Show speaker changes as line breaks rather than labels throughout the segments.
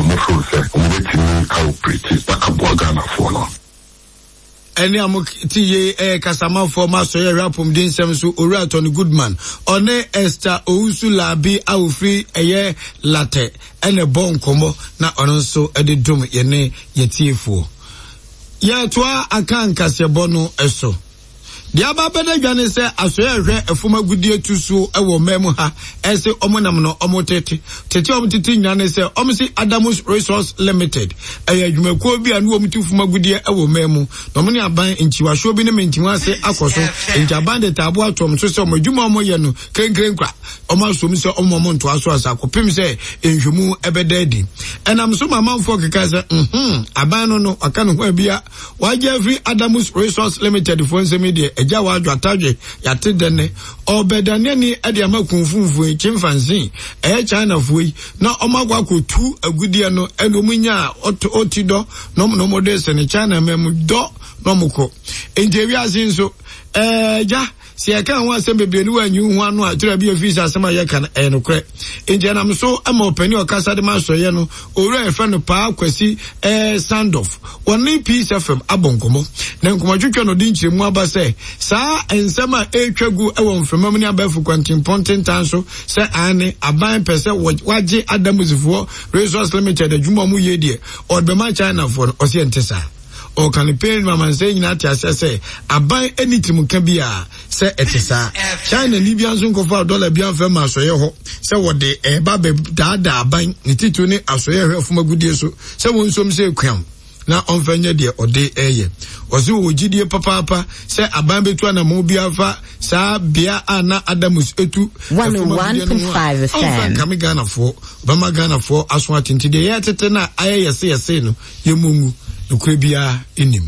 ɔmo feel sɛ ɔmo bɛtumi a operate na aboa Ghanafoɔ no.
Ɛnne a mote yei yɛ kasamafoɔ ma Asɔre Ɛhwɛ Apɔmuden Nsɛm so Owura Tony Goodman. Ɔne Esther Owusu Larbi a ɔfiri ɛyɛ Latɛ ɛna ɛbɔ nkɔmmɔ na ɔno nso de dom yɛne yɛtiefoɔ. Yɛtoa aka nkaseɛbɔ no so. Deɛ aba abɛda dwa ne sɛ asoɛe a ɛhwɛ ɛfam agudeɛ tu so wɔ ɔman mu ha ɛse wɔn nam no wɔn tete. Tete a wɔn tete nyinaa ne sɛ wɔn se Adamus Resource Limited ɛyɛ adwumakuo bi a ne wɔn tu fam agudeɛ wɔ ɔman mu na wɔn ne aban nkyiwasoɔ bi ne mentimu ase akɔ so nti aban de taabo ato wɔn so sɛ wɔn adwuma a wɔn yɛ no krenkren kwa wɔn asom sɛ wɔn wɔn ntoa so asa kɔpem sɛ nhwɛmu ɛbɛda adi. Ɛnam so ma amanfoɔ keka sɛ mhm aban no no waka ne ho abia. Wagye afiri Adamus Resource Limited foɔ nsam yi deɛ agya wadwo atadwe yate dɛ nɛ ɔbɛdane ani de ama kunfunfoɔ yi chimpanzee ɛyɛ China foɔ yi na ɔmo akɔ akɔtu agudeɛ no ɛna ɔmo nya ɔti dɔ na ɔmo na ɔmo de sene China ma mu dɔ na ɔmo kɔ nti ewiase nso ɛɛ gya Sɛ yɛka ho asɛm bebree ne woanyi wo ho ano a, ɛtɔ da bi a ɛfiri sɛ asɛm a yɛka no, ɛyɛ nokorɛ. Enti ɛnam so ma ɔpanin a ɔkasa de ma asɔeɛ no, Owura a yɛfrɛ no Paa Kwasi eh, Sandorf, wɔne Peace FM abɔ nkɔmmɔ. Na nkɔmmɔtwetwe no ɔde nkyerɛmu aba sɛ saa nsɛm a ɛretwa gu wɔ mframa mu ne abɛɛfo kwantempɔn tentan so sɛ aane, aban pɛ sɛ wɔagye Adamusifoɔ Resource Limited adwuma a wɔyɛ deɛ ɔde bɛma Chinafoɔ no, ɔse ɛnte saa. Ɔka no pɛn ma amansan nyinaa te aseɛ sɛ aban nni tirimka biara sɛ ɛte saa. China ni biara nso nkɔfaa dɔla biara mfa mma asɔeɛ hɔ sɛ wɔde ɛreba abɛdaadaa aban, ne titiriw ne asɔeɛ ɛhwɛ fam agudeɛ so sɛ wɔnsom sɛ kuam na ɔmfa nyɛ deɛ ɔde reyɛ. Ɔse ɔwɔ gyidie papaapa sɛ aban bɛtu anammɔn biara fa saa bea a na Adamus tu fam agudeɛ no ho a, ɔmfa nkame Ghanafoɔ. Ɔbɛma Ghanafoɔ aso ate nti deɛ yɛretete no a ayɛ yɛse yɛse no, yɛmmɔ ngu, nokorɛ biara nnim.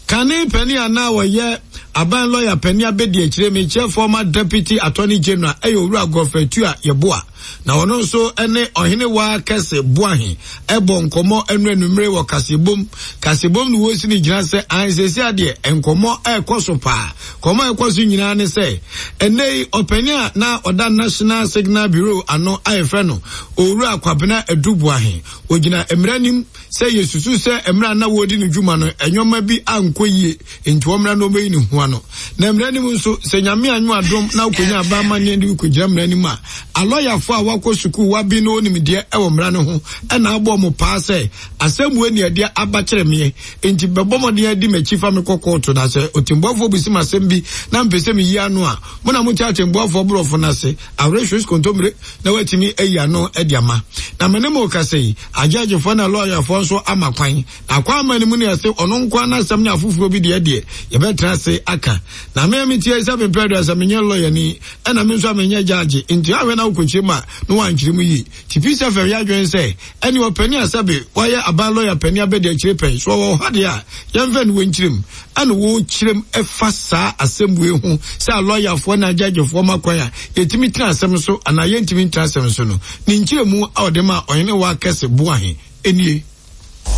Kane panin a na ɔyɛ aban lɔya panin abɛdi akyire mekyerɛ former deputy attorney general ɛyɛ owura Godfrey Tua Yeboah na ɔno nso ne ɔhene waa kɛse Boahe ɛbɔ nkɔmmɔ ɛnu anumere wɔ kaseɛbom kaseɛbom no wɔsi ne gyina sɛ ansɛsi adeɛ nkɔmmɔ ɛrekɔ so paa kɔmmɔ ɛrekɔ so nyinaa ne sɛ ɛnɛ yi ɔpanin a na ɔda National Signal Bureau ano a yɛfrɛ no owura Kwabena Adu Boahe Ogyina mmara anim sɛ yɛsusu sɛ mmerɛ a na wɔredi ne dwuma no nneɛma bi ankɔ yie nti wɔmmra na wɔmmɛyi ne ho ano. Na mmara anim nso, sɛ Nyame anyɛ adom na wokɔnya aba amanneɛ de wokɔgyina mmara anim a, alɔyafoɔ a wɔakɔ sukuu wɔaben na wɔnim deɛ ɛwɔ mmara no ho na abɔ wɔn paa sɛ asɛm wei ne ɛdeɛ aba kyerɛ meɛ nti bɛbɔ mmɔden adi m'akyi fa me kɔ kɔɔto na sɛ ɔtɛmbuafoɔ bisi m'asɛm bi na mpɛ sɛ meyi ano a mo na mote atɛmbuafoɔ borɔfo no ase Awerɛhwes kontommire na watumi ayi ano de ama. Na me ne mo rekasa yi, agyɛɛgyefoɔ ne alɔyafoɔ nso ama kwan. Na akwaamma no mu ne ɛse ɔno nko ara n'asɛm ne afoforɔ bi deɛ deɛ, yɛbɛtena ase aka. Na me a metie yi sɛ mepɛ aduasa menyɛ lɔyani, ɛna me nso a menyɛ gyaagye, nti ahwɛ na wokɔkyerɛ mu a na woankyerɛ mu yie. Nti Peace FM yɛ adwene sɛ ɛne ɔpanin a sɛbe wayɛ aban lɔya panin abɛdi akyire pɛn, so ɔwɔ ha deɛ a, yɛmfa ne wɔ nkyerɛ mu. Ɛna wɔkyerɛ mu ɛfa saa asɛm wei ho sɛ alɔyafoɔ ne agyagyefoɔ ma kwan a yɛtumi tena asɛm so anaa yɛntumi ntena asɛm so no, ne nkyerɛmu a ɔde maa Ɔhene Wakɛse Boahe nie.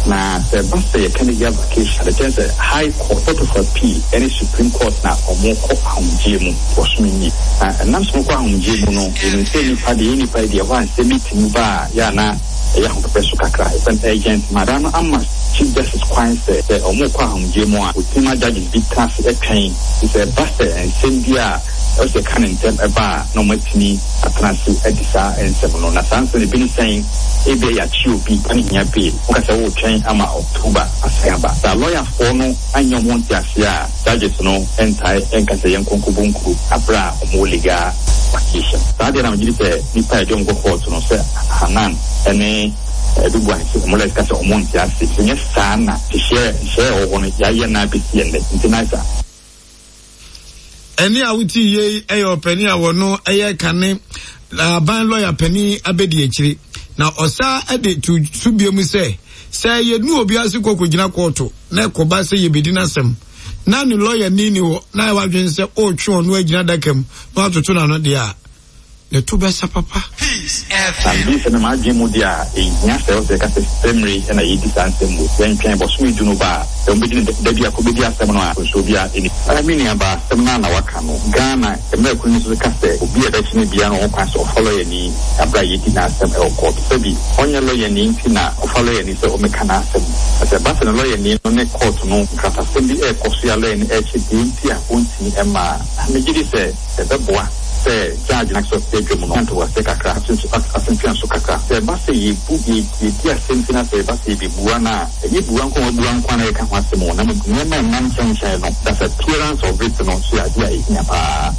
Na sɛ ɛba sɛ yɛka legal vacation a, ɛkyerɛ sɛ High Court, Court of Appeal ne Supreme Court na wɔkɔ ahomegyeɛ mu bosome nie. Na ɛnam sɛ wɔkɔ ahomegyeɛ mu no, yɛnim sɛ nnipa deɛ, yɛn nnipa yi deɛ, ɛhɔ a nsɛm bi tumi ba a, yɛ a na ɛyɛ ahopɛpɛ so kakra. Yɛfrɛ no urgent matter. Mmara no ama Chief Justice kwan sɛ, sɛ wɔrekɔ ahomegyeɛ mu a, wɔtumi ma judges bi tena ase twɛn. Nti sɛ ɛba sɛ nsɛm bi a ɛwɔ sɛ yɛka no ntɛm ba a, na wɔatumi atena ase adi saa nsɛm no. Na saa nsɛm no, ebi ne sɛn? Ebia yɛakye obi na ne hia bail. Woka sɛ woretwɛn ama October asan aba. Sɛ alɔyafoɔ no annya wɔn ho nteaseɛ a, judges no ntae nka sɛ yɛnkɔ nkɔbɔ nkuro berɛ a wɔwɔ legal vacation. Saa deɛ na megye di sɛ nnipa a yɛde wɔn kɔ kɔɔto no, sɛ Hanan ne Adu Boahen sɛ wɔn lawyers ka sɛ wɔn nte ase. Sɛ nyɛ saa na nhyehyɛɛ nhyehyɛɛ a ɛwɔ hɔ no yɛayɛ no ara bɛsi ɛnnɛ. Nti na sa.
Ɛnne a wote yei yɛ ɔpanin a wɔno yɛ kane aban lɔya panin abɛdi akyire na ɔsa de to so bio mu sɛ sɛ yɛnu obi ase kɔ kɔgyina kɔɔto na ɛkɔba sɛ yɛbɛdi n'asɛm na ne lɔya ni ni hɔ na ayɛ wadwene sɛ ɔretwe ɔno agyina adaka mu na watoto n'ano deɛ a. Ne to bɛsa papa.
Na megye di sɛ me m'adwene mu deɛ a, ɛnhia sɛ ɛwɔ sɛ yɛka sɛ sɛ mmere yi na yɛredi saa nsɛm wei. Yɛntwɛn bɔsome du no ba a, sɛ wɔbɛdi no da biako bɛdi asɛm no a, nsuo biara nni. Ɛɛ me nua baa, asɛm no ara na woaka no. Ghana mmara kunu no nso ka sɛ obi a ɛbɛkye no biara no wɔ ho kwan sɛ ɔfa lɔyani berɛ a yɛredi n'asɛm wɔ kɔɔto. Sɛbi ɔnyɛ lɔyani nti na ɔfa lɔyani sɛ ɔmmɛka n'asɛm. Na sɛ ɛba sɛ ne lɔyani no ne kɔɔto no nkratasɛm bi rekɔ so a lɔyani rekyerɛ deɛ nti a ɔntumi mma a, megye di sɛ ɛbɛboa sɛ judge no ankasa ɔte adwa mu no nya ntoboaseɛ kakra, asentweaso kakra. Sɛ ɛba sɛ yɛbu, yɛdi asɛm ti na sɛ ɛba sɛ yɛbɛbua no a, ɛnyɛ bua nko a wɔabua nko ara na yɛka ho asɛm o, na mmom nneɛma a ɛnam nkyɛnkyɛn no, that's appearance of it no nso yɛ adeɛ a ɛhia pa ara.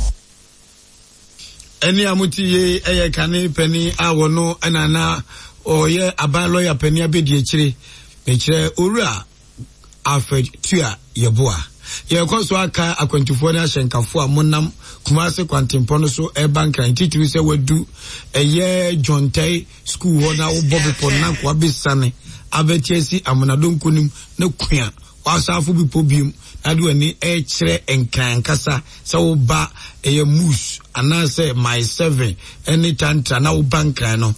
Ɛnne a mote yei yɛ kane panin a wɔno na na ɔyɛ aban lɔya panin abɛdiakyire, mekyerɛ Owura Alfred Tua Yeboah. Yɛrekɔ so aka akwantufoɔ ne ahyɛnkafoɔ a monam Kumase kwantempɔn no so reba Nkran, titiriw sɛ wadu ɛyɛ John Tɛe sukuu hɔ na wobɔ bepɔ no na nkoa bɛsiane abɛte asi Amona Donko no mu na kua w'asaafo bepɔ biom na de w'ani rekyerɛ Nkran ankasa sɛ woba ɛyɛ Moose anaasɛ Mile 7 ne Tantra na woba Nkran no,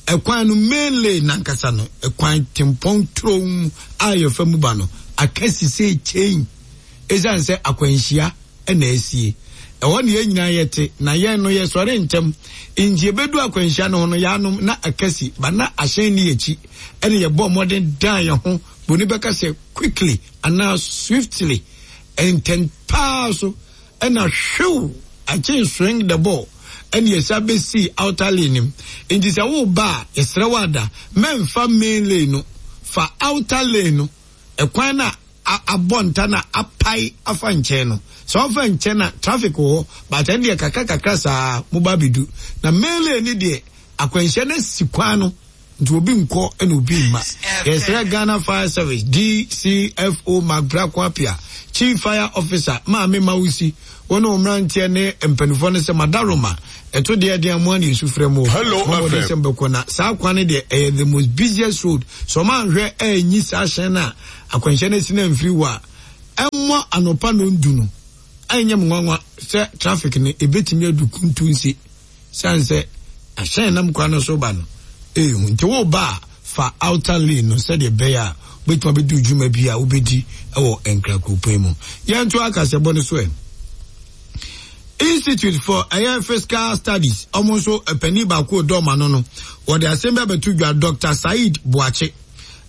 ɛkwan no main lane nankasa no, ɛkwan tempɔn turom a yɛfa mu ba no, aka sisei kyɛn esiane sɛ akwanhyia na asie. Ɛhɔ na yɛn nyinaa yɛte, na yɛn no yɛsɔre ntɛm. Nti yɛbɛdu akwanhyia no ho no, yɛanom na aka si, ba na ahyɛn nni yɛn akyi, ɛna yɛbɔɔ mmɔden dan yɛn ho, buroni bɛka sɛ quickly anaa swiftly, ntɛm paa so, ɛna hwew, akyɛn swing the ball, ɛna yɛsan bɛsii outer lane no mu. Nti sɛ woreba a, yɛsrɛ wo ada, mɛmfa main lane no, fa outer lane no, ɛkwan no a abɔ nta no a apae afa nkyɛn no. Sɛ wofa nkyɛn a, traffic wɔ hɔ, but ɛno deɛ kakra kakra saa moba abɛdu. Na main lane no deɛ, akwanhyia no asi kwan no. Nti obi nkɔ na obi mma. Yɛsrɛ Ghana Fire Service, DCFO Mark Brako Appiah, Chief Fire Officer Maame Mawusi, wo ne wo mmeranteɛ ne mpanimfoɔ no sɛ Madaroma, ɛto deɛ ɛden a mo ara na yɛsu frɛ mo o.
Hello
Mommɔ den
FM.
sɛ mobɛkɔ na saa kwan no deɛ ɛyɛ the most busiest road. Sɛ wɔn anhwɛ anyi saa hyɛn no a akwanhyia no asi no amfiri hɔ a, ɛmmɔ anɔpa nnɔndu no, ɛnyɛ me nwanwa sɛ traffic no ɛbɛtumi adu Kuntunse. Siane sɛ ahyɛn nam kwan no so ba no yɛ hu nti, woreba a, fa outer lane no sɛdeɛ ɛbɛyɛ a wobɛtumi abɛdi dwuma bi a wobɛdi wɔ Nkra kuropɔn mu. Yɛntoa kaseɛbɔ no so ɛ. Institute for ɛyɛ Fiscal Studies, wɔn nso panin baako ɔdɔ ɔma no no, wɔde asɛm bi abɛto dwa, Dr. Said Boakye,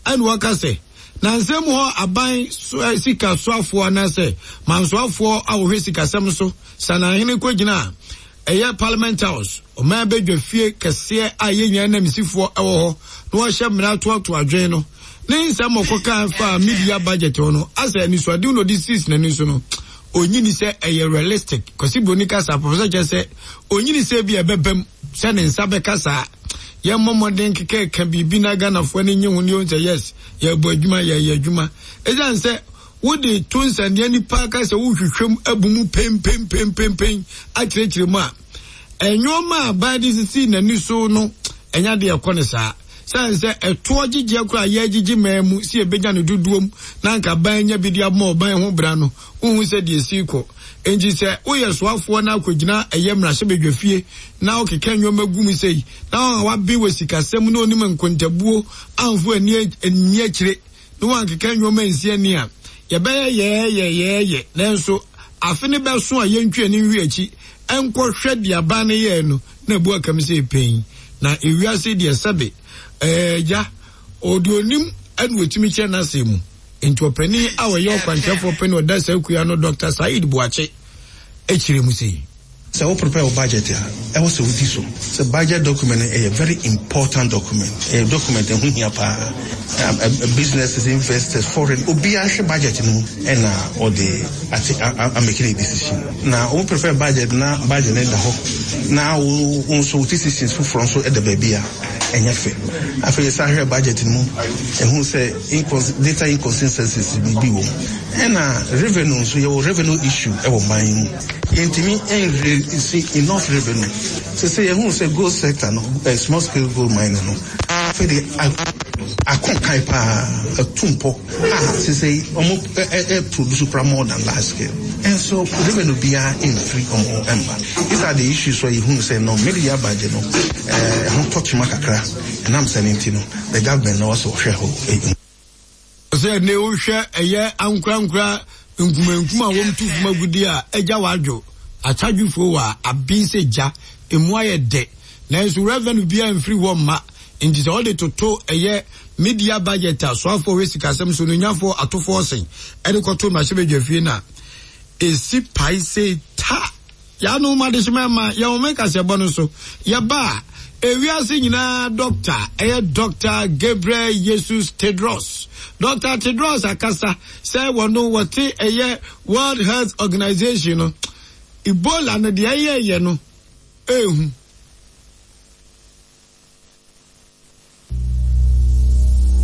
ɛna wɔka sɛ, na nsɛm hɔ aban sika soafoɔ anaasɛ mansoafoɔ a wɔhwɛ sikasɛm so Sanahene kɔgyina Ɛyɛ Parliament House, ɔman badwa fie kɛseɛ a yɛn nyinaa ananmusifoɔ wɔ hɔ na wɔhyɛ mmara toatoa adwene no. Ne nsɛm a ɔkɔkaa faa media budget ho no, asɛ anisoadehu na ɔde siis n'ani so no, ɔnyi ni sɛ ɛyɛ realistic. Kwasi Broni kasa, Professor kyerɛ sɛ ɔnyi ni sɛ ebia ɛbɛbam sɛ ne nsa bɛka saa. Yɛmmɔ mmɔden kekɛka biribi na Ghanafoɔ ani nye ho ne yɛhu sɛ yes, yɛrebɔ adwuma, yɛreyɛ adwuma. Ɛsiane sɛ Wode to nsania nipa ka sɛ wohwehwɛ mu abu mu penpenpenpenpen akyerɛkyerɛ mu a, nneɛma a aban de sisi n'ani so no ɛnyɛ adeɛ ɛkɔ no saa. Sane sɛ ɛtoɔ gyegyeɛ koraa yɛgyegye man mu sɛ yɛbɛnya no dodoɔ mu na anka aban nya bi de abɔ ɔban ho bra no, wohu sɛ deɛ ɛsi kɔ. Enti sɛ woyɛ soafoɔ na akɔgyina ɛyɛ mmarahyɛbadwafie na wokeka nneɛma gu mu sei na wɔn a waben wɔ sikasɛm na onim nkontabuo amfo ani anni akyire na wɔankeka nneɛma ansi ani a, yɛbɛyɛ yɛɛyɛ yɛɛyɛ, nanso afe no bɛso a yɛntwi ani nhwe akyi nkɔhwɛ deɛ aban no yɛɛ no na abu akam sɛ pɛn. Na ewiase deɛ sɛbe ɛɛ agya, ɔde onim ɛna ɔtumi kyerɛ n'asɛm mu. Nti ɔpanin a ɔyɛ ɔkwankyerɛfoɔ panin ɔda saa kuo ano Dr. Said Boakye kyerɛ mu sei.
Sɛ wo prepare wo budget a, ɛwɔ sɛ wodi so. Sɛ budget document no ɛyɛ very important document. Ɛyɛ document ɛho hia paa. Businesses, investors, foreign, obiara hwɛ budget no mu ɛna ɔde ate a make ne decision. Na wo prepare budget na budget no da hɔ na wo nso wo decisions foforɔ nso ɛda baabi a, ɛnyɛ fɛ. Afei yɛsan hwɛ budget no mu, ɛhu sɛ data inconsistencies bi wɔ mu. Ɛna revenue nso, yɛwɔ revenue issue ɛwɔ man yi mu. Yɛntumi nraise enough revenue. Sese yɛhu sɛ gold sector no, eh, small scale gold mining no, afei de akɔ nkan paa, atu mpɔ a sese wɔn produce kora more than large scale. Nso revenue biara mfiri wɔn hɔ mma. These are the issues a yɛhunu sɛ no mid-year budget no ɛho tɔ kyema kakra ɛnam sɛ no nti no the government no ɔsɛ ɔhwɛ hɔ.
Sɛ ne wohwɛ ɛyɛ ankorankora nkumankum a wɔtu fam agudi a agya wadwo atadwefoɔ wɔ a aben sɛ gya emu ayɛ dɛ nanso revenue biara mfiri hɔ mma nti sɛ wɔde toto ɛyɛ media budget a soafoɔ hwɛ sikasɛm so no nyafoɔ atofoɔ sen ɛde kɔto mmarahyɛbadwafie no a ɛsi pae sɛ ta. Yɛanom adehyema ma yɛn home kaseɛbɔ no so. Yɛba a, ewiase nyinaa dɔkta, ɛyɛ Dɔkta Gabriel Jesus Tedros. Dɔkta Tedros akasa sɛ wɔno wɔte ɛyɛ World Health Organization no, Ebola no deɛ ɛyɛɛyɛ no ɛɛhu.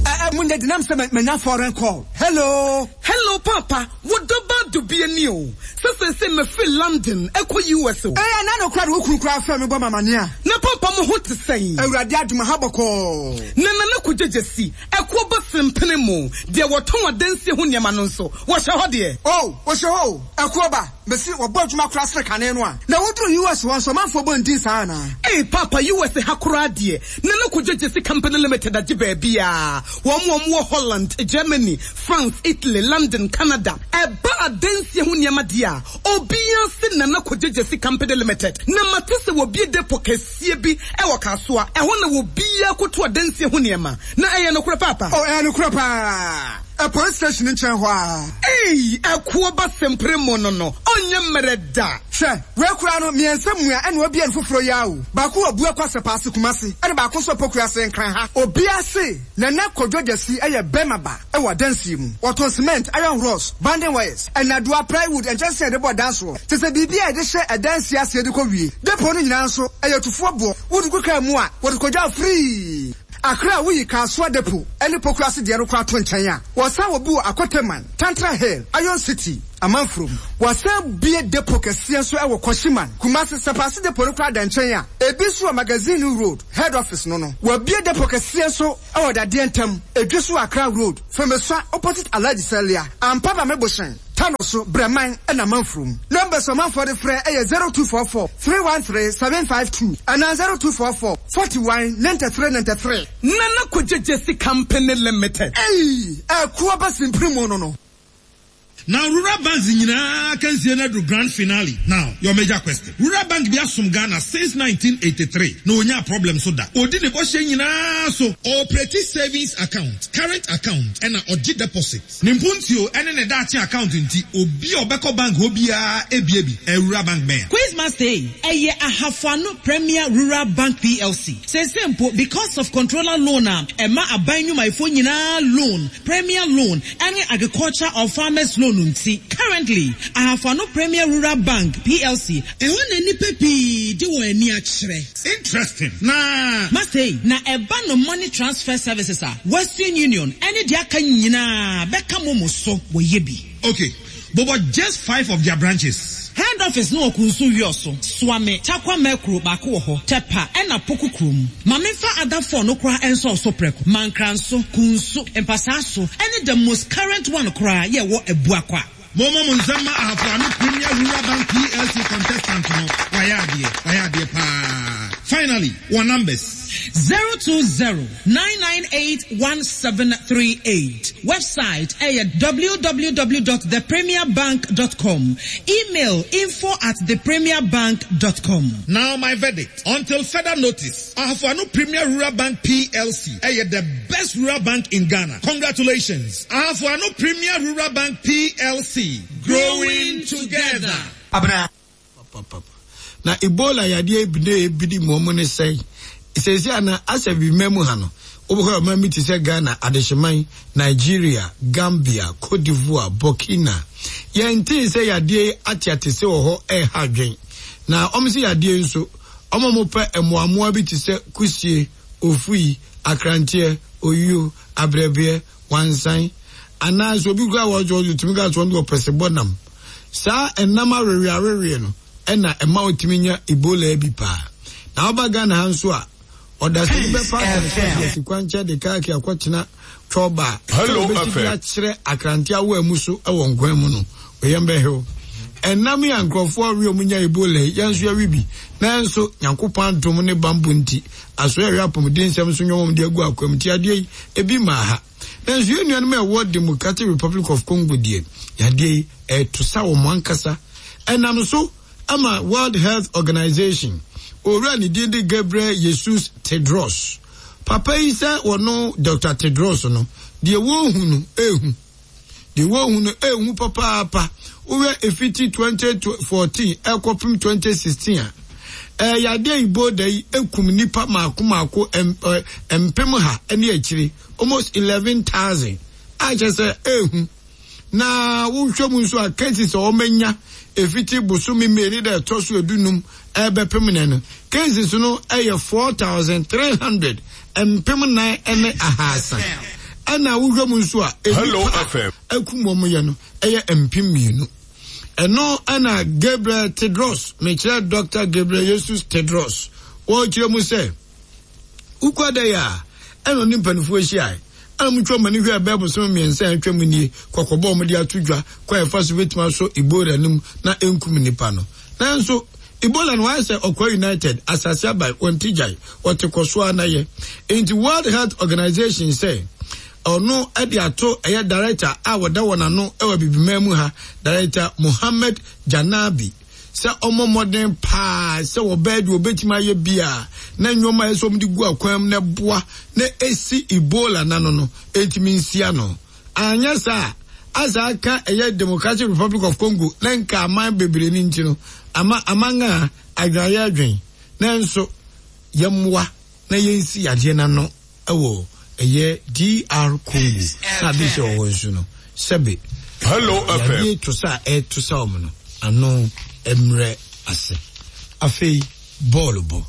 Eh, mo nyɛ denam sɛ manya foreign call. Hello.
Hello paapa, wo dɔ ba dubia ni o. Sɛ seesei mafiri London ɛkɔ US o.
Eh, ɛna no koraa de wo kunu koraa frɛ me bɔ me amaneɛ a.
Na paapa mo ho te sɛn?
Awurade adom aha bɔkɔɔ.
Na Nana Kogyegyesi, ɛkoɔ ba sempene mo, deɛ wɔtɔn adansie ho nneɛma no nso, wɔhyɛ hɔ deɛ?
Oh, wɔhyɛ hɔ o, ɛkoɔ ba. Mese wɔbɔ adwuma koraa sene kane no a. Na woduru US hɔ nso ɔmanfoɔ bɔ ndin saa anaa?
Ei paapa US ha koraa deɛ Nana Kojo Gyasi Company Limited agye baabiaa. Wɔn a wɔwɔ Holland, Germany, France, Italy, London, Canada. Ɛba adansie ho nneɛma deɛ a, obiaa se Nana Kojo Gyasi Company Limited. Na mate sɛ wɔbue depot kɛseɛ bi wɔ Kasoa. Ɛhɔ na obiaa kɔtu adansie ho nneɛma. Na ɛyɛ nokorɛ paapa?
Oh ɛyɛ nokorɛ paa. Police station nkyɛn hɔ ara.
Ei ɛkoɔ ba sempere mo no no ɔnyɛ mmerɛ da.
Hwɛ, wei koraa no, miensa mua ɛna wabue no foforɔ yi ara o. Baako wɔ Buakwa Sɛpaase Kumasi ɛna baako nso wɔ Pokuase Nkran ha. Obiara se Nana Kwadwo Gyasi yɛ bɛrima ba wɔ adansie mu. Wɔtɔn cement, iron rods, banding wires, nnadewa, plywood, nkyɛnsee a yɛde bɔ dan soɔ, kyerɛ sɛ biribi a yɛde hyɛ adansie aseɛ de kɔ wie. Depot no nyinaa nso, ɛyɛ tufoɔ boɔ. Wode gu kaa mu a, wɔde kɔgya wo free. Accra a woyi Kasoa Depot ne Pokuase deɛ no koraa to nkyɛn a, wɔsan wɔ bi wɔ Akoteman, Tantra Hill, Iron City, Amanfurom. Wɔasan bue depot kɛseɛ nso wɔ Kwashiman, Kumasi. Sapase Depot no koraa da nkyɛn a, ebi nso wɔ Magazine Road, Head Office no no. Wɔabue depot kɛseɛ nso wɔ Dadeɛ Ntam, Edweso Accra Road, Femesua opposite Alhaji Salia, Ampaba Mebohyɛn. Tano so, Brɛman na Manfurom. Numbers a ɔmanfoɔ de frɛ yɛ 0244 313 752 anaa 0244 41 93 93.
Nana Kogyegyesi Company Limited.
Ei! Ɛkoɔ ba simpiri mu no no.
Now rural banks nyinaa akansie no aduru grand finale now your major question rural bank bi asom Ghana since 1983 na onyaa problem so da odi ne bɔhyɛ nyinaa so ɔoperate savings account current account ɛna ɔgye deposit Ne mpuntuo ne ne daakye account nti obi a ɔbɛkɔ bank hɔ biara bue bi. Awura bank bɛn a?
Quizmaster ei, ɛyɛ Ahafo Ano Premier Rural Bank PLC. Seesei mpo, because of controller loan a ɛma aban nnwumayɛfoɔ nyinaa loan, Premier Loan, ɛne Agriculture or Farmers Loan nti, currently, Ahafo Ano Premier Rural Bank PLC, Ɛhɔ na nnipa pii de wɔn ani akyerɛ.
Interesting na.
Master ei, na ɛba no money transfer services a, Western Union ɛne deɛ aka nyinaa bɛka momo so wɔyɛ bi.
Ok, bobɔ just five of their branches.
Head office no wɔ Kunsu Wiɔso, Suame, Tarkwa Mɛkuro baako wɔ hɔ, Tɛpa ɛna Poku kurom. Ma menfa other four no koraa nsɔɔ so prɛko, Mankranso, Kunsu, Mpasaaso ɛne the most current one koraa yɛ ɛwɔ Abuakwa.
Momma mo nsam mma Ahafo Ano Premier Rural Bank PLC contestant no, wayɛ adeɛ, wayɛ adeɛ paa. Finally, wɔn numbers.
0209981738 Website ɛyɛ www dot thepremierbank dot com Email info at thepremierbank dot com.
Now my verdict, until further notice, Ahafo Ano Premier Rural Bank PLC ɛyɛ the best rural bank in Ghana. Congratulations! Ahafo Ano Premier Rural Bank PLC, growing together.
Abena. Papapapa. Na Ebola yadeɛ bi na ebidi mu ɔmo ne sɛn? Seesei ana asɛ bi mma mu ha no, wobɛhɔ a ɔman bi te sɛ Ghana, Adehyeman, Nigeria, Gambia, Cote d'Ivoire, Burkina. Yɛntee sɛ yadeɛ yi ateatese wɔ hɔ ɛreha adwen. Na ɔmo se yadeɛ yi nso, ɔmo a ɔmo pɛ mmoammoa bi te sɛ kusie, ofui, akranteɛ, oyuo, abrɛbeɛ, wansan, anaa sɛ obi koraa wɔ ɔdze otumi ka sɛ ɔno deɛ ɔpɛ sebɔ nam. Saa ɛnam awewe awewe no ɛna ɛma otumi nya Ebola bi paa. Na woba Ghana ha nso a, ɔdasani bɛfa asɛnso asi kwankyɛn de kaaki akɔtena twɔba a, sɛ obesi de akyerɛ akrante awoa mu so wɔ nkwan mu no, oyam bɛhew. Ɛnam yi a nkurɔfoɔ we a wɔnya Ebola yi, yɛn nso yɛwe bi. Nanso, Nyankopɔn adom ne banbɔ nti, asoɛeɛ a ɛhwɛ apɔmuden nsɛm so nnwom a wɔde agu akwam nti, adeɛ yi, ebi mmaa ha. Nanso yɛn nuanom a ɛwɔ Democratic Republic of Congo deɛ, yadeɛ yi, ɛreto sa wɔn ankasa. Ɛnam so ama World Health Organization, owura a ne din de Gabriel Jesus Tedros, papa yi sɛ wɔno Dɔkta Tedros no, deɛ wɔrehu no, ɛrehu. Deɛ wɔrehu no ɛrehu papaapa. Wohwɛ ɛfiti 2014 ɛkɔpem 2016 a, ɛyɛ yadeɛ Ebola yi ɛkum nnipa mmaako mmaako mpem ha ne akyire, almost 11,000, a kyerɛ sɛ ɛrehu. Na wohwɛ mu nso a cases a wɔanya ɛfiti bosome May ne da ɛtɔ so edunum ɛrebɛpem nnɛ no, cases no yɛ 4,300, 4,300. Ɛna wohwɛ mu nso a, nnipa a akum wɔn yɛ no yɛ 2,000. Ɛno ɛna Gabriel Tedros, mekyerɛ Dr. Gabriel Jesus Tedros, wɔrekyerɛ mu sɛ, Wokɔ dɛ a, ɛna ɔne mpanimfoɔ hyiae. Ɛna wɔtwa wɔn ani hwɛɛ bɛyɛ bosome mmiɛnsa a atwam nie, kɔkɔbɔ a wɔde ato dwa, kwan a ɛfa so bɛtumi asɔ Ebola no mu na ɛnkum nnipa no. Nanso, Ebola no ayɛ sɛ Ɔkwa United, asase aban, wɔnte gyae, wɔte kɔ so ara na yɛ. Enti World Health Organization sɛ ɔno de ato ɛyɛ director a wɔda wɔn ano wɔ Abibiman mu ha, Director Mohammed Janabi, sɛ ɔmmɔ mmɔden paa sɛ wɔbɛyɛ deɛ wɔbɛtumi ayɛ biara na nneɛma a ɛsɛ sɛ wɔde gu akwan mu na ɛboa na ɛsi Ebola no ano no ɛntumi nsi ano. Anyɛ saa a, asa aka ɛyɛ Democratic Republic of Congo na nka aman bebree no nti no, ama aman a adwene ayɛ adwene. Nanso yɛmmoa na yɛnsi yadeɛ no ano wɔ ɛyɛ DR Congo na ade hyɛ wɔ hɔ nso no, sɛbe yadeɛ to sa a ɛreto sa wɔn no ano mmerɛ ase. Afei bɔɔlo bɔ.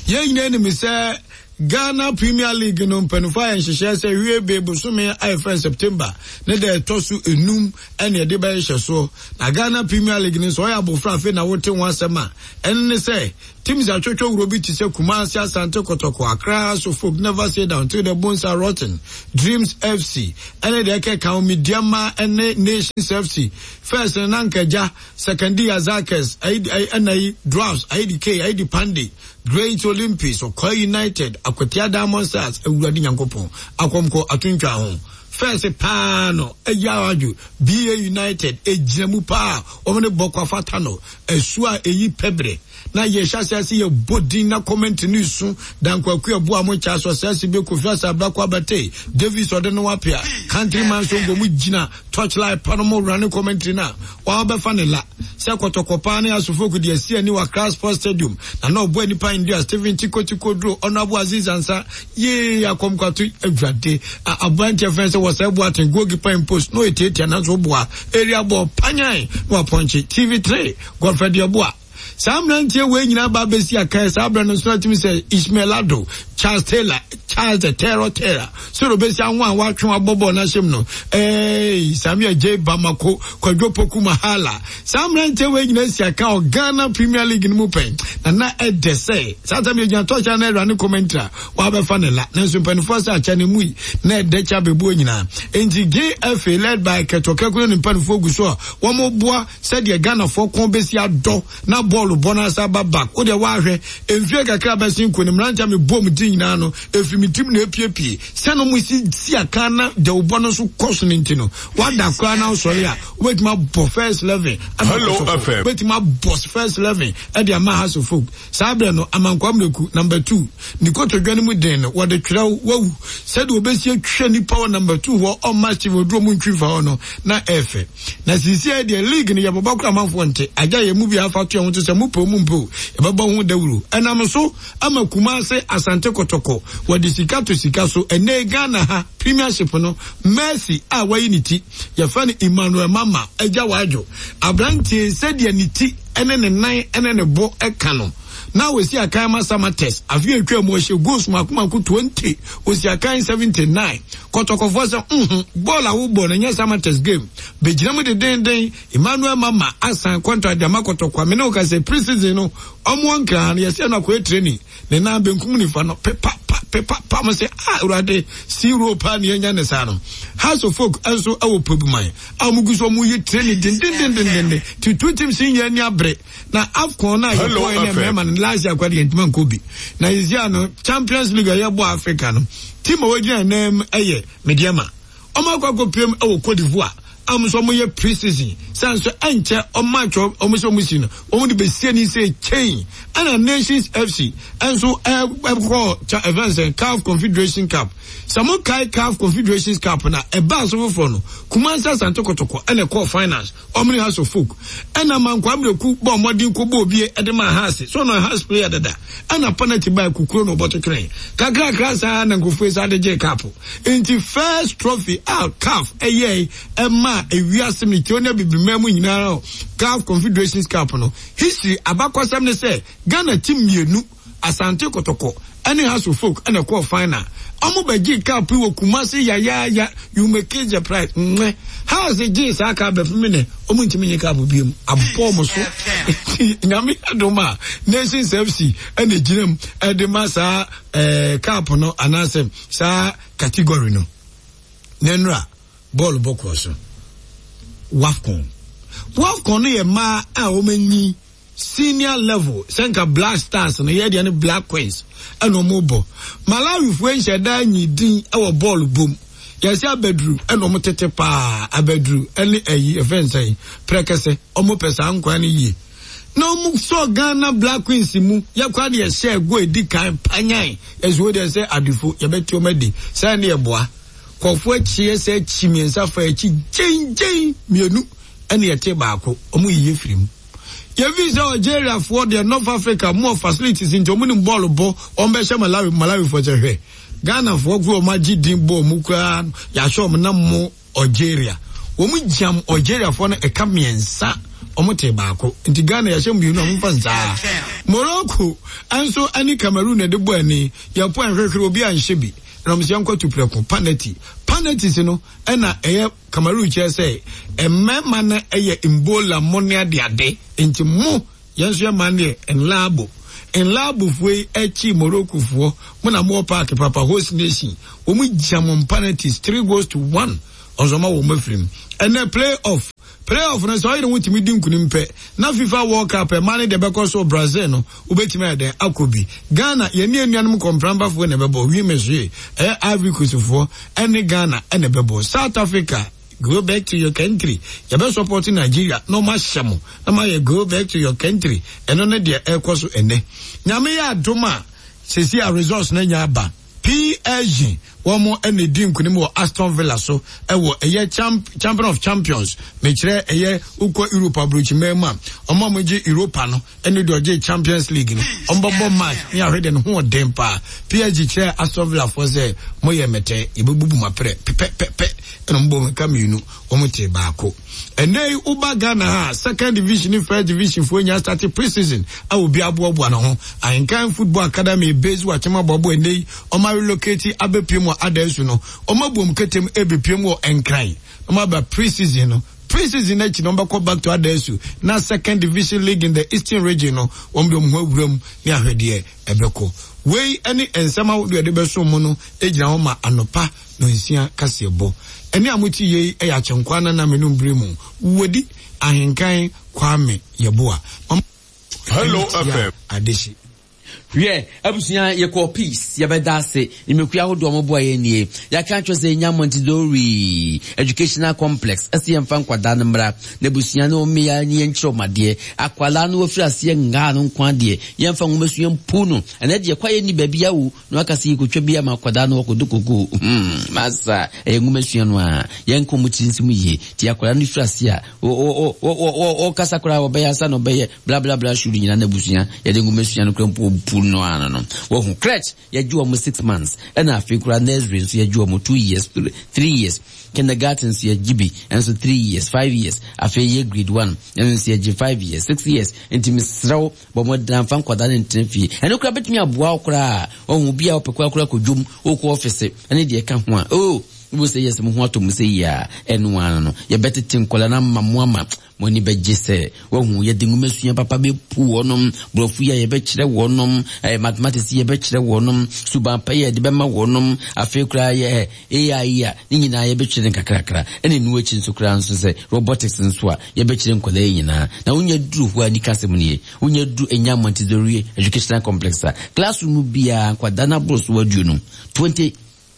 Yɛn nyinaa nim sɛ Ghana Premier League no mpanimfoɔ ayɛ nhyehyɛɛ sɛ wie be bosome a yɛfrɛ no September ne da ɛtɔ so enum ɛne ɛde bɛyɛ hyɛsoɔ. Na Ghana Premier League no nso ɔyɛ abofra afei na wote ho asɛm a ɛne ne sɛ teams atwotwo wuro bi te sɛ Kumasi Asante Kotoko, Accra Hearts of Oak, Never Say Down Till the Bones Are Rotten, Dreams FC ɛne deɛ ɛkeka ho Medeama ɛne Nations FC. First no na nka agya Sekandi Azakes, ɛna yi Dwarfs, Aidi K, Aidi Pande, Great Olympics, Ɔkwa United, Akwatia Diamond Stars, Awurade Nyankopɔn, Akɔmkɔ Atontwa ho. First paa no, Agya Adwo, BA United, egyina mu paa, wɔn ne Bɔkɔ Afata no, ɛso a eyi pɛbrɛ. Na yɛhyɛ ase ase yɛ bɔ din na comment no su, Danko Akua Boa mo Charles Ɔsɛse Be Kofi Asabrako Abate, Davis Ɔde no Apea, Countryman Songo mo gyina Torchlight pa no mo wura ne commentary no a wɔabɛfa ne la sɛ kɔtɔkɔ paa ne asofok de asi ani wɔ Accra Sports Stadium na na ɔbɔ nipa India Stephen Tiko Tiko Duro Honorable Aziz Ansa yee akɔmkwato awurade aberanteɛ fɛn sɛ wɔsɛ Boateng goalkeeper in post na ɔyɛ nanso boa area ball panyan na wapɔnkye TV3 Godfred Yeboah. Saa mmeranteɛ wei nyinaa ba bɛsi akan saa berɛ no nso atumi sɛ Ismail Ado, Charles Taylor, Charles the Terror Taylor, sɛ ɔbɛsi aho a watwe abɔ bɔɔl no ahyɛm no, ee Samuel J. Bamako, Kwadwo Poku Mahala. Saa mmeranteɛ wei nyinaa si akan wɔ Ghana Premier League no mu pɛn, na na ɛdɛ sɛ saa tam yɛgyina tɔhyɛ na awura ne commentary a wabɛfa ne la, nanso mpanimfoɔ sɛ akyɛ ne mu yi na ɛdɛ kyɛ abɛbuo nyinaa. Enti GFA led by Kɛtɔ Kɛkuro ne mpanimfoɔ gu so a wɔboa Sɛdeɛ Ghanafoɔ kɔn bɛsi adɔ na bɔɔlo bɔ no asan aba back wo deɛ woahwɛ mfie kakra a bɛsen kɔ no mmeranteɛ a mebɔɔ mo din nyinaa no ɛfiri me tirim na ɛpiepie sɛdeɛ wɔn si si akan na dawubɔ no nso kɔ so no nti no woada koraa na wosɔre a wobɛtumi abɔ first eleven ama Kotoko wobɛtumi abɔ first eleven ɛde ama Hearts of Oak. Saa berɛ no, Amankwaa Miraku, number two, ne kotodwe no mu den no, wɔde twerɛ wo, wawu. Sɛdeɛ wɔbɛsi atwa nnipa wɔ number two hɔ, ɔmma Steve Oduro mu ntwi mfa hɔ no, na ɛyɛ fɛ. Na seesei deɛ, league no, yɛbɔbɔ koraa amanfoɔ nte. Agya yɛn mu biara fa to yɛn ho so sɛ mopɛ o mompɛ o, yɛbɛbɔ ho dawuro. Ɛnam so ama Kumase Asante Kɔtɔkɔ, wɔde sika to sika so. Ɛnnɛ yi Ghana ha, Premiership no, Mercy a wayi ne ti, yɛfrɛ no Emmanuel Mama Agya Wadwo. Aberanteɛ yi, sɛdeɛ ne ti ne ne nan ne ne bo ka no, na ɔsi akan ma Samatex. Afe a etwaa mu, ɔhyɛ goals mako mako 20, ɔsi akan 79. Kɔtɔkɔfoɔ sɛ, Nhu, bɔɔl a wobɔ no nyɛ Samatex game. Bɛgyina mu dedennden. Emmanuel Mama asan contract de ama Kɔtɔkɔ a me ne wo ka sɛ pre-season no, wɔn wɔ Nkran ha no, yɛsɛ no akɔyɛ training. Ne nan benkum nifa no, pepa pa. pepa pa mo sɛ ah awurade sea roll paa ne yɛnya ne saa no. House of Folk nso wɔ Pobuman a wɔn gu so wɔn yi training dendendendenden ti two teams yi nyɛ ani abere na AFCON na yɛkɔɛ ne mmarima no last year akɔde yɛn ntoma nkɔ bi na yɛsi ano Champions League a yɛbɔ Africa no team a wɔgyina nan mu yɛ Medeama. Wɔn akɔ akɔpiem wɔ Cote d'Ivoire a wɔn nso wɔyɛ pre-season sɛ nso ɛnkyɛ wɔn match wɔn sɛ wɔn si no wɔn de bɛsi ani sɛ kyɛn ɛna Nations FC nso ɛkɔ ɛfɛn sɛ CAF Confederation Cup sɛ mo kae CAF Confederations Cup na ɛbaa so foforɔ no Kumasi Asante Kotoko ɛna ɛkɔɔ finals Wɔn ne House of Folk. Ɛna Mankwaa Miraku bɔɔ mmɔden kɔbɔɔ obie de maa Hearts. So ɔno Hearts player dada. Ɛna penalty baa kukuro na ɔbɔto twenee. Kakrakra saa na nkurɔfoɔ yi saa de gyee cup. Nti first trophy a CAF ɛyɛe ɛmaa ewiase ne Ethiopia abibiman mu nyinaa CAF Confederations Cup no history abakɔsɛm ne sɛ Ghana team mmienu Asante Kotoko ne Hearts of Oak na ɛkɔɔ final. Ɔmo bɛgyee cup yi wɔ Kumasi yayaaya, you may kiss the prize. Mwɛ. Hearts gyee saa cup bɛpem nnɛ, ɔmo ntumi nye cup biom. Abɔ ɔmo so. Nti Nyame adom a, Nations FC na egyina mu de ma saa eh, cup no anaasɛ saa category no. Na nnora, bɔɔlo bɔ kɔɔ so. WAFCON. WAFCON no yɛ mmaa a wɔn anyi Senior level sɛ nka Black Stars no yɛ deɛ ne Black Queens ɛna ɔmo bɔ. Malawifoɔ nhyɛ da nyi din ɛwɔ bɔɔl bom. Yɛsɛ abaduru ɛna ɔmo tete paa abaduru ɛne ɛyi ɛfɛn sɛn prɛkɛsɛ ɔmo pɛ saa nkwan no yie. Na ɔmo sɔ Ghana Black Queens mu yɛ kora deɛ hyɛ go edi kan panyan yɛsɛ wo deɛ sɛ adefo yɛbɛte ɔmo adi sɛ ɛne ɛboa. Kɔfoɔ akyi yɛsɛ akyi mmiɛnsa fa akyi gyengyen mmienu ɛne yɛte baako ɔmo yiye firi mu. Yɛfii sɛ Algeria foɔ deɛ North Africa mu wɔ facilities nti ɔmo nim bɔɔlo bɔ ɔmo bɛhyɛ Malawi Malawi foɔ sɛ hwɛ Ghana foɔ koro ɔmo agye din bɔɔl mu koraa yɛahyɛ ɔmo na mo Algeria wɔn gyam Algeria foɔ no ɛka mmiɛnsa ɔmo te baako nti Ghana yɛahyɛ mmienu a ɔmo fa nsaa Morocco nso ɛne Cameroon na ɛde bɔ ani yɛpo ɛnhwehwere obi anhyɛ bi na ɔmo sɛ yɛnkɔ tu prɛko panati panati si no ɛna ɛyɛ Cameroon kyerɛ sɛ mmarima no yɛ Mbola mo ne adeade nti mo yɛn nso yɛ man deɛ Nlaabo. Nlaabofoɔ yi akyi Moroccofoɔ mo na mowɔ park papa host nation wɔn gya mo penalties 3 goals to 1 ɔnso ɔma wɔn afiri mu. Ɛnɛ play off play off no sɛ ɔyere ho tumi di nkunim pɛ na FIFA World Cup ɛma ne deɛ bɛkɔ so Brazil no Wobɛtumi ayɛ dɛn akɔ bi? Ghana, yɛne anuanom kɔmprampafoɔ na ɛbɛbɔ, Wimesoe, ɛyɛ Ivory Coast foɔ ɛne Ghana ɛna ɛbɛbɔ. South Africa, go back to your country. Yɛbɛ support Nigeria na ɔmo ahyɛ mo na mo ayɛ go back to your country. Ɛno ne deɛ ɛrekɔ so ɛnɛ. Nyame yɛ adom a, sɛsi a results no anya aba. PSG wɔn na edi nkunim wɔ Aston Villa so wɔ ɛyɛ champ champion of champions mekyerɛ ɛyɛ wokɔ Europe aburokyiman mu a wɔn a wɔgye Europa no ɛne deɛ ɔgye Champions League no wɔn bɛbɔ match ne ahwɛ deɛ ne ho ɔden paa PSG kyerɛ Aston Villa foɔ sɛ moyɛ mɛtɛ yɛbɛbubu mo aprɛ pɛpɛpɛpɛ ɛna wɔn bɔ wɔn ka mmienu wɔn te baako. Ɛnnɛ yi woba Ghana ha second division ne first division foɔ nyinaa start pre-season a obi aboaboa ne ho. Ahenkan Football Academy base wɔ Akyem Aboabo ɛnnɛ yi wɔn arelocate abɛpiem wɔ Adansu no. Wɔn abu wɔn ketem ɛrebɛpiem wɔ Nkran na wɔn aba pre-season no. Pre-season no akyi no wɔn bɛkɔ back to Adansu na second division league in the eastern region no wɔn de wɔn ho awura mu ne ahwɛdeɛ ɛbɛkɔ. Wei ne nsɛm ahodoɔ yɛde bɛsom mo no gyina hɔ ma anɔpa Nonsia kaseɛbɔ. Ɛnne a mote yei yɛ Akyenkwa Nana Menum berɛ mu Wodi Ahenkan Kwame Yeboah. Mama
Hello FM.
Adehye.
Wiɛ, abusua, yɛkɔɔ Peace, yɛbɛda ase. Nnwumakuo ahodoɔ a wɔboa yɛn nie. Yɛaka akyerɛ sɛ yɛnya Montessori Educational Complex, ɛsɛ yɛmfa nkwadaa no mmra, na abusua no mmea ne yɛnkyerɛ wɔn adeɛ. Akwadaa no wafiri aseɛ ngaa no nko adeɛ, yɛmfa nwomasua mpu no. Ɛnɛ deɛ kwaeɛ nni baabi awo. Na waka sɛ yɛkɔtwa bi ama akwadaa no wakɔdɔ koko. Hmm, masa, ɛyɛ nwoma sua no a, yɛnka ɔmo tiri nsi mu yie. Nti akwadaa no firi ase a, ɔkasa koraa ɔbɛyɛ ansa na ɔbɛyɛ bla bla bla shudu nyinaa n'abusua, yɛde nwoma sua no koraa mpo ɔbu no ano no. Wahu, crèche, yɛgye ɔmo 6 months, ɛna afei koraa nursery nso yɛgye ɔmo 2 years, 3 years. Kindergarten nso yɛgye bi nso 3 years, 5 years. Afei yɛ grade 1, ɛno nso yɛgye 5 years, 6 years. Nti mesrɛ wo, Bɔ mmɔden na mfa nkwadaa no ntena fie. Ɛno koraa bɛtumi aboa wo koraa. Wahu obi a ɔpɛ koraa koraa kɔ dwom, wokɔ ɔfese, ɛne deɛ ɛka ho a. Oh! Wobɛhu sɛ yes mo ho atɔ mo sɛ yie a, ɛno ara no yɛbɛtete nkwadaa no ama mo ama mo ani bɛgye sɛ wahu yɛde nwomasua papa bɛpu wɔnom, borɔfo yi a yɛbɛkyerɛ wɔnom, eh, mathematics yi yɛbɛkyerɛ wɔnom, suban pa yi a yɛde bɛma wɔnom, afei koraa yɛ eh, AI yi a ne nyinaa yɛbɛkyerɛ no nkakrakra, ɛna ɛno akyi nso koraa nso sɛ robotics nso a yɛbɛkyerɛ nkwadaa yi nyinaa. Na wonya duru hɔ a nika asɛm nie, wonya duru ɛnya Montessori Educational Complex a, classroom biara nkwadaa no aboro so aduonum, 20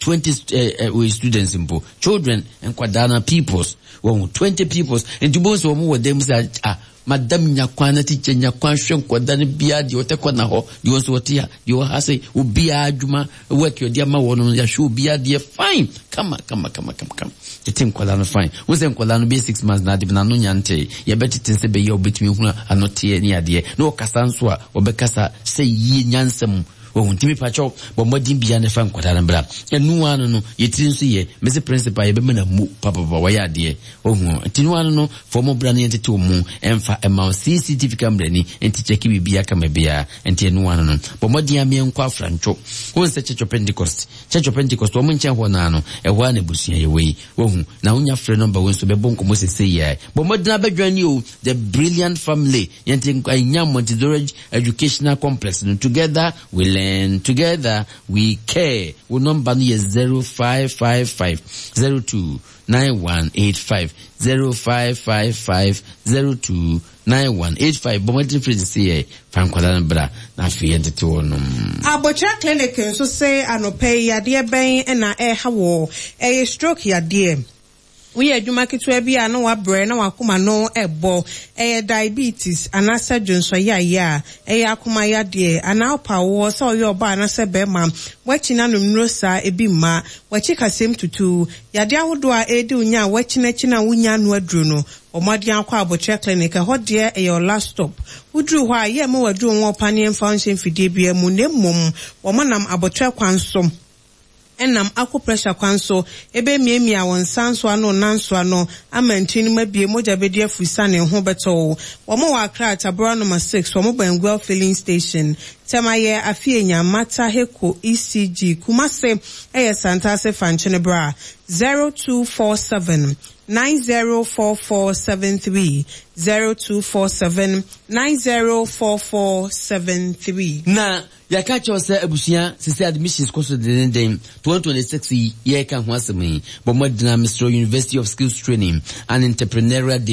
20 eh, eh, wei students mpo children nkwadaa na pupils wɔn 20 pupils nti bó sɛ wɔn wɔ dan mu sɛ ah madam nya kwan na teacher nya kwan hwɛ nkwadaa no biara deɛ ɔtɛ kɔ na hɔ deɛ ɔnso ɔte ha deɛ ɔha sɛ obiara adwuma work ɔde ama wɔn no yɛahwɛ obiara deɛ fine kama kama kama kama kama tete nkwadaa no fine wɔn sɛ nkwadaa no bɛyɛ 6 months na ade na ano nya nte yɛbɛtete sɛ bɛyɛ ɔbɛtumi hunu ano teɛ ne adeɛ na ɔkasa nso a ɔbɛkasa sɛ yie nyansam. Wahu? Nti mepakyɛw, bɔ mmɔden biara na fa nkwadaa no bra. Ɛno ara no no, yɛ tiri nso yɛ. Mese principal yɛbɛma no amu papapapa, wayɛ adeɛ. Wahu? Nti no ara no no, fa wɔn bra na yɛntete wɔn mfa mma wo. CCTV camera ni, nti kyɛke biribiara kama biara. Nti ɛno ara no no, bɔ mmɔden ara meɛnkɔ Afrantwo. Wohu sɛ Church of Pentecost, Church of Pentecost, wɔn nkyɛn hɔ no ara no, ɛhɔ ara na abusua yɛwɔ yi. Wahu? Na wonya frɛ nɔmba wei nso, bɛbɔ nkɔmmɔ sesei yi ara. Bɔ mmɔden ara bɛjoin ni o, The Brilliant Family. Yɛnte Nya Montessori Educational Complex no, together we learn, together we care. Wo nɔmba no yɛ 0555 02 9185, 0555 02 9185. Bɔ mmɔden firi sese yɛ fa nkwadaa no bra na afei yɛntete wɔnom.
Abokyerɛ Clinic nso se anɔpa yi yadeɛ bɛn na ɛreha woɔ? Ɛyɛ stroke yadeɛ. Woyɛ adwuma ketewa bi a na woabrɛ na w'akoma no rebɔ. Ɛyɛ diabetes anaasɛ dwonsɔyaeɛ a, ɛyɛ akoma yadeɛ, anaa wopa awoɔ sɛ ɔyɛ ɔbaa anaasɛ barima, woakyi no anom nnuro saa ebi mma, w'akyi kasɛm tutu, yadeɛ ahodoɔ a ɛredi wo nya a woakyinakyina a wonnya ano aduro no, bɔ mmɔden ara kɔ Abokyerɛ Clinic, ɛhɔ deɛ ɛyɛ wo last stop. Woduru hɔ a, yɛmma wo aduro nwɔ wo paneɛ mfa wo nhyɛ mfidie biara mu na mmom wɔnam aboterɛ kwan so nam acupressure kwan so bemiamia wo nsa nsoa no nan nsoa no ama ntini no mu abue, mogya bedi afurusane, ho bɛtɔ wo. Wɔn wɔ Accra, Tabora Noma 6, wɔn bɛn Guel Filling Station. Tema yɛ Afienya, Mata, Heko, ECG. Kumase yɛ Santase Fankyene Bra, 0247 904473, 0247 904473.
Na Yɛaka akyerɛ wo sɛ abusua sesei admissions kɔ so denneennen, 2026 yi yɛreka ho asɛm yi, bɔ mmɔden ara mesrɛ wo University of Skills Training and Entrepreneurial.